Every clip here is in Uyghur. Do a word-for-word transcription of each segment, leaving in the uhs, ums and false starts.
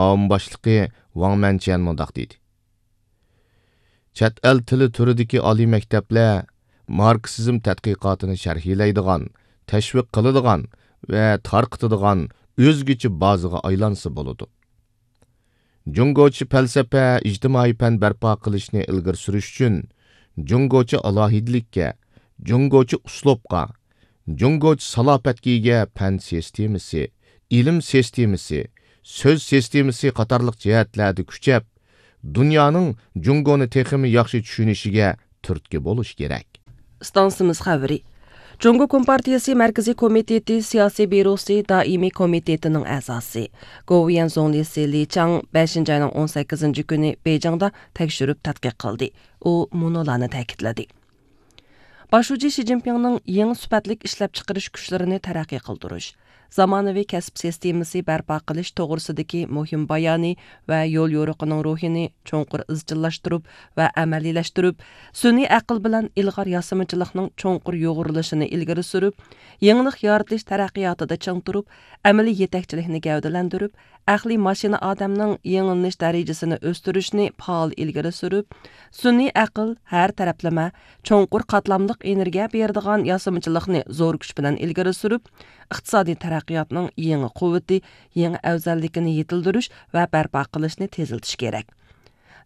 ئاۋام باشلىقى ۋاڭ مەنچيەن مۇنداق دېدى: چەت ئەل تىلى تۈرىدىكى ئالىي مەكتەپلەر ماركسىزم تەتقىقاتىنى شەرھلەيدىغان، تەشۋىق قىلىدىغان ۋە تارقىتىدىغان ئۆزگىچە بازىغا ئايلانسا بولىدۇ. جۇڭگوچە پەلسەپە، ئىجتىمائىي پەن بەرپا قىلىشنى ئىلگىرى سۈرۈش ئۈچۈن، جۇڭگوچە ئالاھىدىلىككە، جۇڭگوچە ئۇسلۇبقا، جۇڭگوچە سالاپەتكە ئىگە پەن سىستېمىسى، ئىلىم سىستېمىسى، سۆز سىستېمىسى قاتارلىق جەھەتلەردە كۈچەپ، دۇنيانىڭ جۇڭگونى تېخىمۇ ياخشى چۈشىنىشىگە تۈرتكە بولۇش كېرەك. ئىستانسىمىز خەۋىرى. جۇڭگو كومپارتىيىسى مەركىزىي كومىتېتى سىياسىي بيۇروسى دائىمىي كومىتېتىنىڭ ئەزاسى، گوۋۇيۈەن زۇڭلىسى لى چاڭ بەشىنچى ئاينىڭ ئون سەككىزىنچى كۈنى بېيجىڭدا تەكشۈرۈپ تەتقىق قىلدى. ئۇ مۇنۇلارنى تەكىتلىدى: باش شۇجى شى جىنپىڭنىڭ يېڭى سۈپەتلىك ئىشلەپچىقىرىش كۈچلىرىنى تەرەققىي قىلدۇرۇش، زامانىۋى كەسىپ سىستېمىسى بەرپا قىلىش توغرىسىدىكى مۇھىم بايانى ۋە يوليورۇقىنىڭ روھىنى چوڭقۇر ئىزچىللاشتۇرۇپ ۋە ئەمەلىيلەشتۈرۈپ، سۈنئىي ئەقىل بىلەن ئىلغار ياسىمىچىلىقنىڭ چوڭقۇر يۇغۇرۇلۇشىنى ئىلگىرى سۈرۈپ، يېڭىلىق يارىتىش تەرەققىياتىدا چىڭ تۇرۇپ، ئەمەلىي يېتەكچىلىكنى گەۋدىلەندۈرۈپ، ئەقلىي ماشىنا ئادەمنىڭ يېڭىلىنىش دەرىجىسىنى ئۆستۈرۈشنى پائال ئىلگىرى سۈرۈپ، سۈنئىي ئەقىل، ھەر تەرەپلىمە، چوڭقۇر قاتلاملىق ئېنېرگىيە بېرىدىغان ياسىمىچىلىقنى زور كۈچ بىلەن ئىلگىرى سۈرۈپ، ئىقتىسادىي تەرەققىياتنىڭ يېڭى قۇۋۋىتى، يېڭى ئەۋزەللىكىنى يېتىلدۈرۈش ۋە بەرپا قىلىشنى تېزلىتىش كېرەك.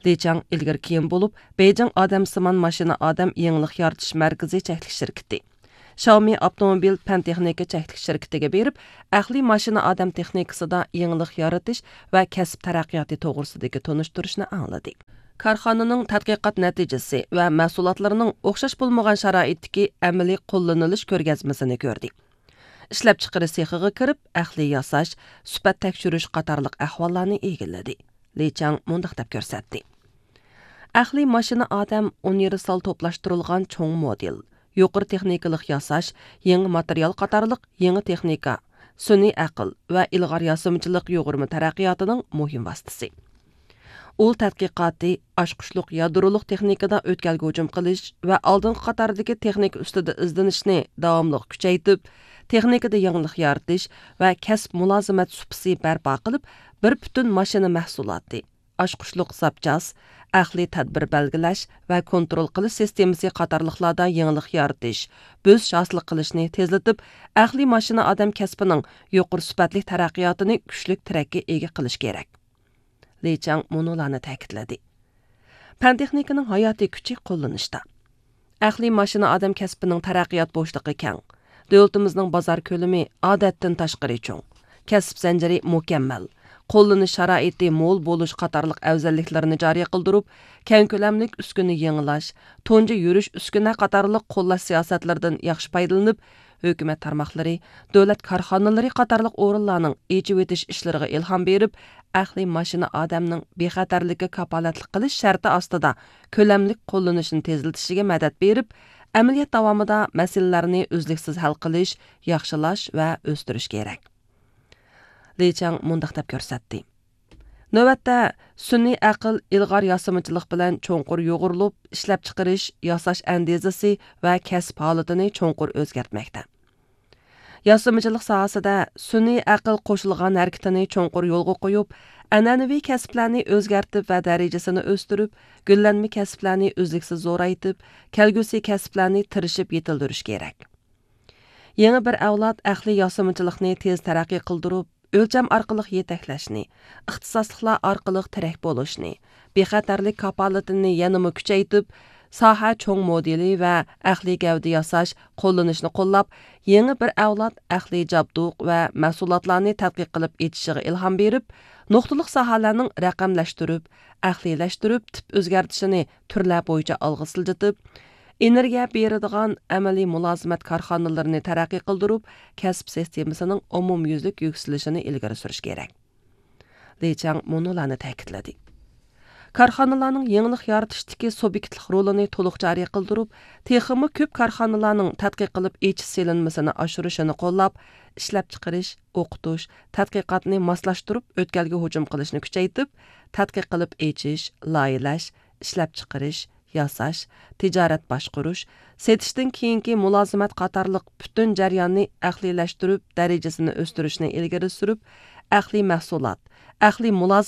لى چاڭ ئىلگىرى كېيىن بولۇپ، بېيجىڭ ئادەمسىمان ماشىنا ئادەم يېڭىلىق يارىتىش مەركىزى چەكلىك شىركىتى، شاۋمى ئاپتوموبىل پەن تېخنىكا چەكلىك شىركىتىگە بېرىپ، ئەقلىي ماشىنا ئادەم تېخنىكىسىدا يېڭىلىق يارىتىش ۋە كەسىپ تەرەققىياتى توغرىسىدىكى تونۇشتۇرۇشنى ئاڭلىدى. كارخانىنىڭ تەتقىقات نەتىجىسى ۋە مەھسۇلاتلىرىنىڭ ئوخشاش بولمىغان شارائىتتىكى ئەمەلىي قوللىنىلىش كۆرگەزمىسىنى كۆردى. ئىشلەپچىقىرىش سېخىغا كىرىپ، ئەقلىي ياساش، سۈپەت تەكشۈرۈش قاتارلىق ئەھۋاللارنى ئىگىلىدى. لى چاڭ مۇنداق دەپ كۆرسەتتى: ئەقلىي ماشىنا ئادەم ئۇنىۋېرسال توپلاشتۇرۇلغان چوڭ مودېل، يۇقىرى تېخنىكىلىق ياساش، يېڭى ماتېرىيال قاتارلىق يېڭى تېخنىكا، سۈنئىي ئەقىل ۋە ئىلغار ياسىمىچىلىق يۇغۇرما تەرەققىياتىنىڭ مۇھىم ۋاسىتىسى. ئۇل تەتقىقاتى، ئاچقۇچلۇق يادرولۇق تېخنىكىدا ئۆتكەلگە ھۇجۇم قىلىش ۋە ئالدىنقى قاتاردىكى تېخنىكا ئۈستىدە ئىزدىنىشنى داۋاملىق كۈچەيتىپ، تېخنىكىدا يېڭىلىق يارىتىش ۋە كەسىپ مۇلازىمەت سۇپىسى بەرپا قىلىپ، بىر پۈتۈن ماشىنا مەھسۇلاتى، ئاچقۇچلۇق زاپچاس، ئەقلىي تەدبىر بەلگىلەش ۋە كونترول قىلىش سىستېمىسى قاتارلىقلاردا يېڭىلىق يارىتىش، بۆسۈش ھاسىل قىلىشنى تېزلىتىپ، ئەقلىي ماشىنا ئادەم كەسپىنىڭ يۇقىرى سۈپەتلىك تەرەققىياتىنى كۈچلۈك تىرەككە ئىگە قىلىش كېرەك. لى چاڭ مۇنۇلارنى تەكىتلىدى: پەن تېخنىكىنىڭ ھاياتىي كۈچى قوللىنىشتا. ئەقلىي ماشىنا ئادەم كەسپىنىڭ تەرەققىيات بوشلۇقى كەڭ. دۆلىتىمىزنىڭ بازار كۆلىمى ئادەتتىن تاشقىرى چوڭ. كەسىپ زەنجىرى مۇكەممەل. قوللىنىش شارائىتى مول بولۇش قاتارلىق ئەۋزەللىكلىرىنى جارى قىلدۇرۇپ، كەڭ كۆلەملىك ئۈسكۈنە يېڭىلاش، تۇنجى يۈرۈش ئۈسكۈنە قاتارلىق قوللاش سىياسەتلىرىدىن ياخشى پايدىلىنىپ، ھۆكۈمەت تارماقلىرى، دۆلەت كارخانىلىرى قاتارلىق ئورۇنلارنىڭ ئېچىۋېتىش ئىشلىرىغا ئىلھام بېرىپ، ئەقلىي ماشىنا ئادەمنىڭ بىخەتەرلىككە كاپالەتلىك قىلىش شەرتى ئاستىدا كۆلەملىك قوللىنىشىنى تېزلىتىشىگە مەدەت بېرىپ، ئەمەلىيەت داۋامىدا مەسىلىلەرنى ئۈزلۈكسىز ھەل قىلىش، ياخشىلاش ۋە ئۆستۈرۈش كېرەك. لى چاڭ مۇنداق دەپ كۆرسەتتى: نۆۋەتتە، سۈنئىي ئەقىل ئىلغار ياسىمىچىلىق بىلەن چوڭقۇر يۇغۇرۇلۇپ، ئىشلەپچىقىرىش، ياساش ئەندىزىسى ۋە كەسىپ ھالىتىنى چوڭقۇر ئۆزگەرتمەكتە. ياسىمىچىلىق ساھەسىدە سۈنئىي ئەقىل قوشۇلغان ھەرىكىتىنى چوڭقۇر يولغا قويۇپ، ئەنئەنىۋى كەسىپلەرنى ئۆزگەرتىپ ۋە دەرىجىسىنى ئۆستۈرۈپ، گۈللەنمە كەسىپلەرنى ئۈزلۈكسىز زورايتىپ، كەلگۈسى كەسىپلەرنى تىرىشىپ يېتىلدۈرۈش كېرەك. يېڭى بىر ئەۋلاد ئەقلىي ياسىمىچىلىقنى تېز تەرەققىي قىلدۇرۇپ، ئۆلچەم ئارقىلىق يېتەكلەشنى، ئىختىساسلىقلار ئارقىلىق تىرەك بولۇشنى، بىخەتەرلىك كاپالىتىنى يەنىمۇ كۈچەيتىپ، ساھە چوڭ مودېلى ۋە ئەقلىي گەۋدە ياساش، قوللىنىشنى قوللاپ، يېڭى بىر ئەۋلاد ئەقلىي جابدۇق ۋە مەھسۇلاتلارنى تەتقىق قىلىپ ئېچىشىغا ئىلھام بېرىپ، نۇقتىلىق ساھەلەرنىڭ رەقەملەشتۈرۈپ، ئەقلىيلەشتۈرۈپ، تىپ ئۆزگەرتىشىنى تۈرلەر بويىچە ئالغا سىلجىتىپ، ئېنېرگىيە بېرىدىغان ئەمەلىي مۇلازىمەت كارخانىلىرىنى تەرەققىي قىلدۇرۇپ، كەسىپ سىستېمىسىنىڭ ئومۇميۈزلۈك يۈكسىلىشىنى ئىلگىرى سۈرۈش كېرەك. لى چاڭ مۇنۇلارنى تەكىتلىدى: كارخانىلارنىڭ يېڭىلىق يارىتىشتىكى سۇبيېكتلىق رولىنى تولۇق جارى قىلدۇرۇپ، تېخىمۇ كۆپ كارخانىلارنىڭ تەتقىق قىلىپ ئېچىش سېلىنمىسىنى ئاشۇرۇشىنى قوللاپ، ئىشلەپچىقىرىش، ئوقۇتۇش، تەتقىقاتنى ماسلاشتۇرۇپ ئۆتكەلگە ھۇجۇم قىلىشنى كۈچەيتىپ، تەتقىق قىلىپ ئېچىش، لايىھەلەش، ئىشلەپچىقىرىش، ياساش، تىجارەت باشقۇرۇش، سېتىشتىن كېيىنكى مۇلازىمەت قاتارلىق پۈتۈن جەرياننى ئەقلىيلەشتۈرۈپ، دەرىجىسىنى ئۆستۈرۈشنى ئىلگىرى سۈرۈپ، ئەقلىي مەھسۇلات، ئەقلىي مۇلازىمەت